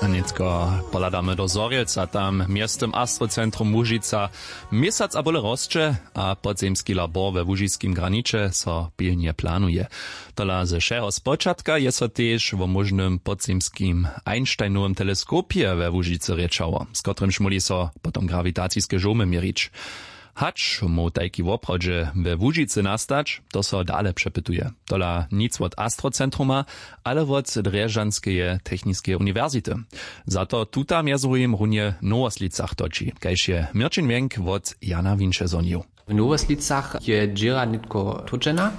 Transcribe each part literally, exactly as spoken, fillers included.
A nětko pohladamy do Zhorjelca. Tam městym astrocentrum Łužica měsac a bóle rosće a podzemski labor we łužiskim graniće so pilnje planuje. Tola ze wšeho spočatka je so tež wo móžnym podzemskim Einsteinowym teleskopje we Łužicy rěčało, z kotrymž móhli so potom grawitaciske žołmy měrić. Hač móhł tajki woprawdźe we Łužicy nastać, to so dale přepytuje. Tola nic wot astrocentruma, ale wot Drježdźanskeje techniskeje uniwersity. Za to tuta mjez druhim runje w Nowoslicach toči, kaž je Měrćin Wjenk wot Jana Winše zhonił. W Nowoslicach je dźěra nětko tódźena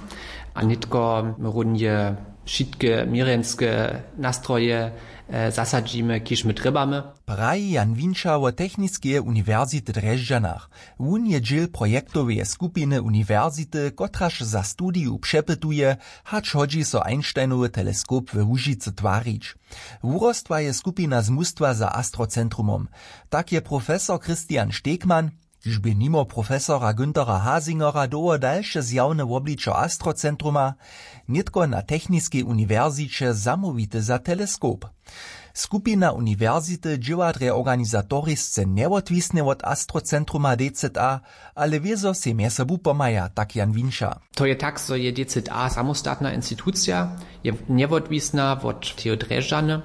a nětko runje wšitke měrjenske nastroje zasadźimy, kiž my trjebamy. Praji Jan Winša wo techniskeje uniwersity w Drježdźanach. Wón je dźěl projektoweje skupiny uniwersity, kotraž za studiju přepytuje, hač hodźi so Einsteinowy teleskop we Łužicy twarić. Wurostła je skupina z mustwa za astrocentrumom. Tak je profesor Christian Stegmann, kiž bě nimo profesora Günthera Hasingera dołho dalše zjawne wobličo astrocentruma, nětko na techniskej uniwersiće zamołwity za teleskop. Skupina uniwersity dźěła drje organizatorisce njewotwisnje wot astrocentruma D Z A, ale wězo sej mjez sobu pomhaja, tak Jan Winša. To je tak, zo je D Z A samostatna institucija, je njewotwisna wot teho Drježdźany,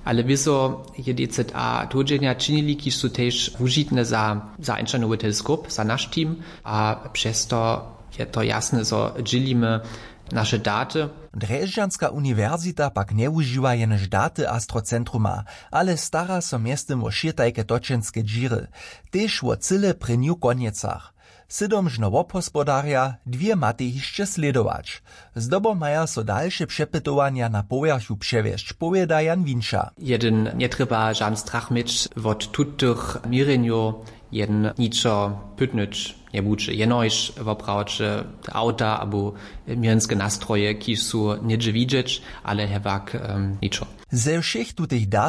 ale wězo je D Z A tódźenja činili, kiž su tež wužitne za, za Einsteinowy teleskop, za naš team, a přez to je to jasne, zo dźělimy naše daty. Drježdźanska uniwersita pak njewužiwa jenož daty astrocentruma, ale stara so mjeztym wo wšě tajke točenske dźěry, tež wo cyle prěnju konjecach. Sydom žno wobhospodarja, dwě matej hišće slědować. Zdobom maja so dalše přepytowanja na powjerchu přewjesć, powěda Jan Winša. Jedyn njetrjeba žan strach měć wot tutych měrjenjow, jedyn ničo pytnyć njebudźe, jenož woprawdźe awta abo měrjenske nastroje, kiž su něhdźe widźeć, ale hewak ničo. Ze wšěch tutych dat